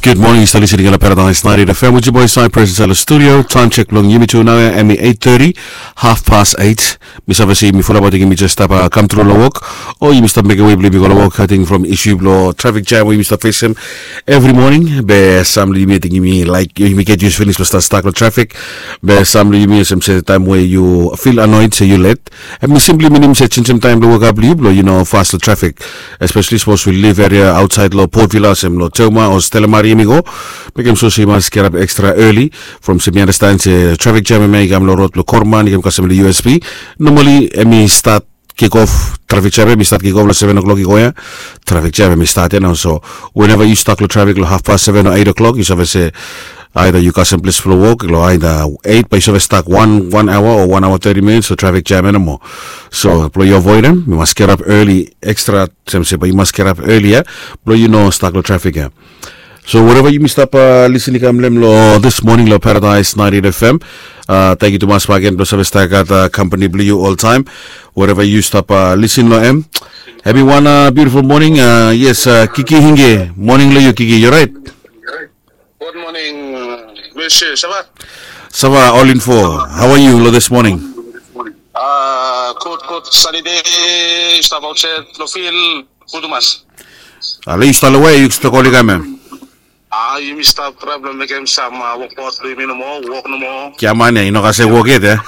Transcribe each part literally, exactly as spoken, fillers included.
Gud moning, yu stap lisin long Paradise ninety-eight F M with your boy Cypress inside the studio. Time check bilong yumi tu nau ya, em i eight thirty, half past eight. Mi save se yumi fulap, ating yumi jes stap kam tru long wok, o yumi stap mekem we bilong yumi go long wok. Ating from issue bilong traffic jam we yumi stap fesim every morning, be sam long yumi ating yumi laik yumi get used pinis long stap stak long traffic. Be sam long yumi olsem se taim we yu feel annoyed se yu let, em i simply minim se changem taim bilong wokap bilong yu bilong yu no fas long traffic, especially sapos we live area outside long Port Vila olsem long Toma o Stella Maria yumi go. Mekem sure se yu mas get up extra early from se mi understand se traffic jam em ya i kam long rod bilong Korman i kam kasem long U S P. Normally em i start kick off, traffic jam em i start kick off long seven o'clock i go ya. Traffic jam em i start ya nau, so whenever yu stak long traffic long half past seven o eight o'clock, yu save se either yu kasem ples bilong wok long either eight, bai yu save stak one, one hour o one hour thirty minutes long traffic jam ya nomo. So bilong yu avoid em, yu mas get up early extra, sem se bai yu mas get up early ya, bilong yu no stak long traffic ya. So wherever yumi stap lisin i kam long em long this morning long Paradise ninety-eight F M, thank you tumas bagen bilong save stap gat company bilong yu oltaim. Wherever yu stap lisin long em, happy one beautiful morning. Yes, Kiki Hinge, morning long yu Kiki, yu right? Good morning, Monsieur Sava. Sava, all in four. How are you long this morning? Good, good, sunny day. Stap outside long field. Good tumas. Ale yu stap long we yu stap oli kam em? A yumi stap traem long mekem sam wokbaot bilong yumi nomo, wok nomo. Giaman ya i no kasem wok yet ya.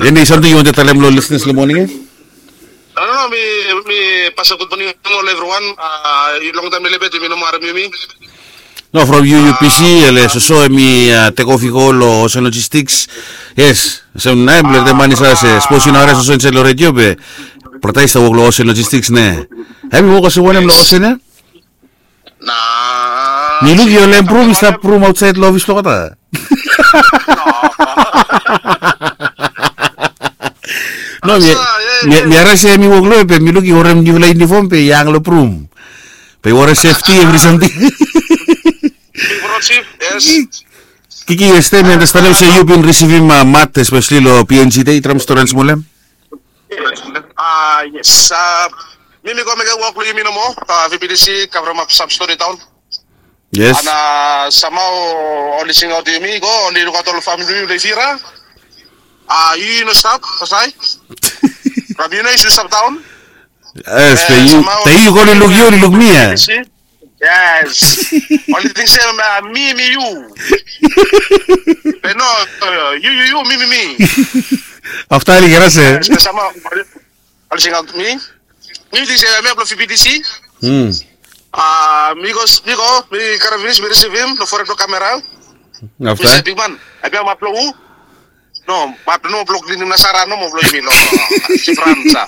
Eni samting yu wantem talem long listeners long moning ya? No, no, no, mi, mi pasem gud moning long everyone. Longtaem mi lelebet yumi no moa harim yumi. No, from U U P C, ele soso em i tek of i go long Ocean Logistics. Yes, olsem na em bilong ol man i save se sapos yu no harim soso insait long redio be brata i stap wok long Ocean Logistics ne. Em i wok olsem wanem long Ocean ya? Na mi luk yu olsem brum i stap brum ausait long ofis blong olgeta. No, mi harim se em i wok long em be mi luk i worem niupela yunifom be i hang long brum. Be i worem sefti evri samting. Kiki, yesde mi andastanem se yu bin risivim mat espesali long P N G de, i traem stori wan smol em. A yes, mi mi go mekem wok long yumi nomo, V P T C kavremap sam stori daon. Yes. Ana samau oli singaut yumi go oli lukaut ol famili bilong yumi long Ivira. A yu yu no stap kasai? From yu no yu stap daun. Yes, be yu, be yu go oli luk yu oli luk mi ya. Yes. Oli ting se mi mi yu. Be no, yu yu yu mi mi mi. Afta oli kira se. Oli singaut mi. Mi ting se mi ya bilong V P T C. Mi go mi go mi karim pinis mi risivim long foret blong kamera. Mi se bikman, em ya mat bilong hu? No, mat bilong hu bilong klinim nasara nomo bilong yumi long sifran sa.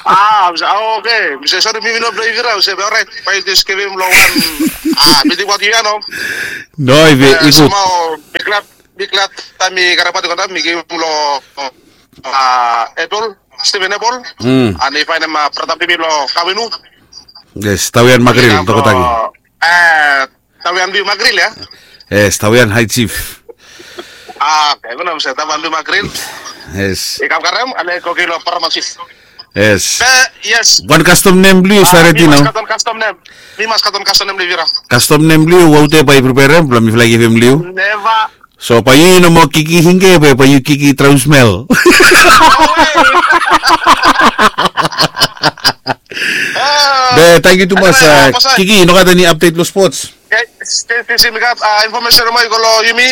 A mi se, oke, mi se sori mi mi no bilong Ivira. Mi se orait, bai yu jes givim long wan. A mi ting wan yu ya no? No, i be i go. Mi glad, mi glad taim mi karabat i go taim mi givim long Apple, Steven Apple. An i painim brata bilong mi long Kawinu. Yes, Tawian Magril, tokotaki. Tawian Biu Magril ya. Yes, Tawian High Chief. A oke, mi no mi se Tawian Biu Magril. Yes. I kam karem ale koki long Paraman Chief. Yes. Be yes. Wan kastom nem bilong yu save redi nau. Mi mas katon kastom nem. Mi mas katon kastom nem long Ivira. Kastom nem bilong yu, waute bai i preperem bilong mifala i givim long yu. Neva. So bai yu i no moa Kiki Hinge be bai yu Kiki Traem Smel. Be tangkiu tumas. Kiki, i no gat eni apdet long spots? Stil mi gat infomesen nomo i go long yumi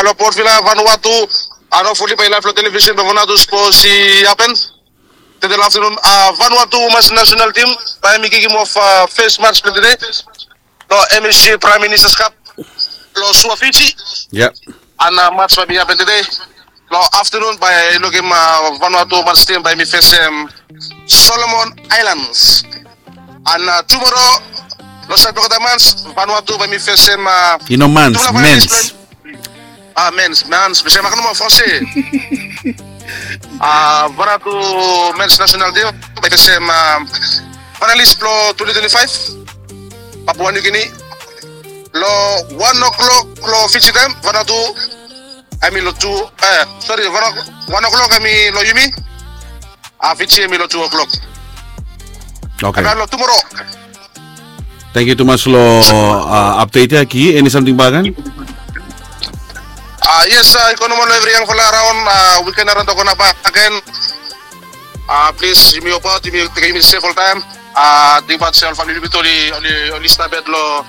long Port Vila, Vanuatu. An hopefully bai i laif long televisin bilong Vanuatu sapos i hapen. Tede long aftanun, Vanuatu Women's National Team bai mi kikim of fes mats bilong tede long M S G Prime Minister's Cup long Suva, Fiji. Ia. An mats bai mi hapen tede long aftanun bai lukim Vanuatu Women's Team bai mi fesem Solomon Islands. An tumora long sait blong olgeta mans, Vanuatu bai mi fesem. I no mans, mens. A mens, mens, mi save makim nomo fos. Vanuatu Men's National Team bai fesem finalis blong twenty twenty-five, Papua New Guinea, long wan o'clock long Fiji taim. Vanuatu em i long tu, sori, wan o'clock em i long yumi. Fiji em i long tu o'clock. Oke. Em i long tumora. Tangkiu tumas long update ya. Ki eni samting baken? Yes, i go nomol long evri yangfala araon. Wiken araon tokona baken. Plis yumi hopaot yumi tekem yumi sef oltaem. Tingbaot se ol famili blong yumi tu oli stap yet long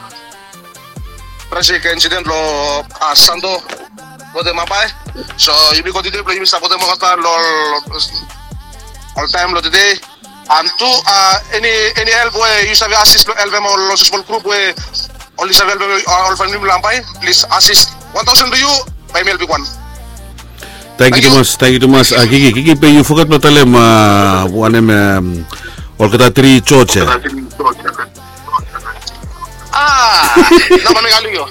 trajik insident long Santo, wetem Mapai. So yumi kontiniu blong yumi sapotem olgeta long oltaem long tede. An tu eni eni help we yu save asis blong helpem ol ol sosmol grup we oli save helpem ol famili blong Mapai, plis asis wan taosen blong yu. Bae mi helpem wan. Tangkiu tumas, tangkiu tumas. Kiki, Kiki, be yu foget blong talem wanem, olgeta tri jos ya. Ah, namba mi kali yo.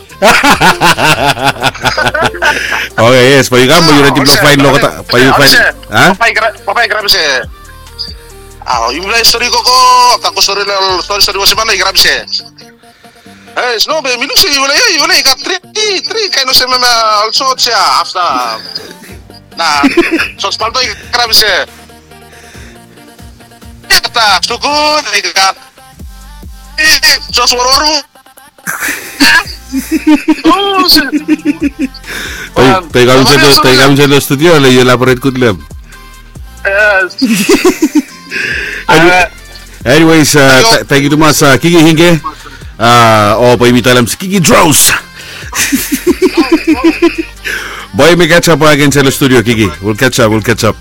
Oke, yes, bae yu kam bae yu redi blong faen long olgeta bae yu faen. Papa i grab se. Ah, yufala i stori koko. Afta ko stori long stori stori wosiman i grab se. Ei, sno be mi luk se yufala ya yufala i gat tri tri kaen olsem em ol jos ya. Afta na jos palto i grab se. Afta sukut i gat jos warwaru. Pe yu kam insaed long studio le yu elaboret gud long em. Anyways, tangkiu tumas Kiki Hinge. O bae yumi talem se Kiki Draws. Bae yumi catch up back insaed long studio, Kiki. We'll catch up, we'll catch up.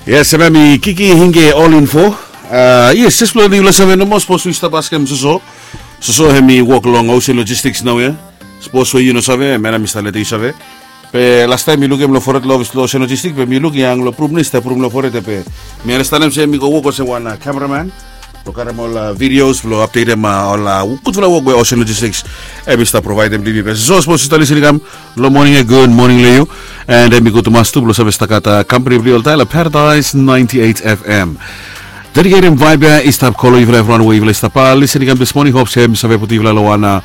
Yes, hemia mi Kiki Hinge, All Info. Yes, jes blong yufala save nomo, sapos yu stap askem soso, soso hemi wok long Ocean Logistics naoia. Sapos we yu no save, hemia mi stap letem yu save. Be lastaem mi lukim long foret long ofis blong Ocean Logistics, be mi luk i hang long brum, i stap brum long foret ya. Be mi andastanem se hemi go wok olsem wan kameraman blong karem ol videos blong apdetem ol gudfala wok we Ocean Logistics hemi stap provaedem long yumi. Be soso, sapos yu stap lisin i kam long moning ya, gud moning long yu. And hemi gud tumas tu blong save stap gat kampani blong yu oltaem long Paradise ninety eight F M. Dediketem vaeb ya i stap kolem yufala evriwan we yufala i stap lisin i kam dis moning. Hop se hemi save putum yufala long wan,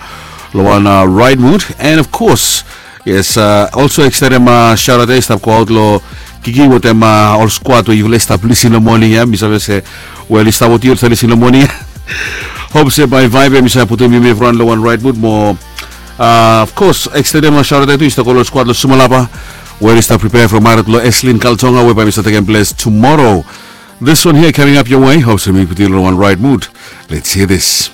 long wan right mood. And of course, yes, olso ekstendem shaotaot ya i stap goaot long Kiki wetem ol skwad we yufala i stap lisin long moning ya. Mi save se, wel, i stap wetem yu oli stap lisin long moning ya. Hop se bae vaeb ya hemi save putum yumi evriwan long wan right mood mo. Of course, ekstendem shaotaot ya tu i stap go long skwad long Sumalapa, we oli stap pripea from maret blong Eslin Kaltonga we bae hemi stap tekem ples tumoro. This one here coming up your way. Hop se mi putum yu long wan right mood. Let's hear this.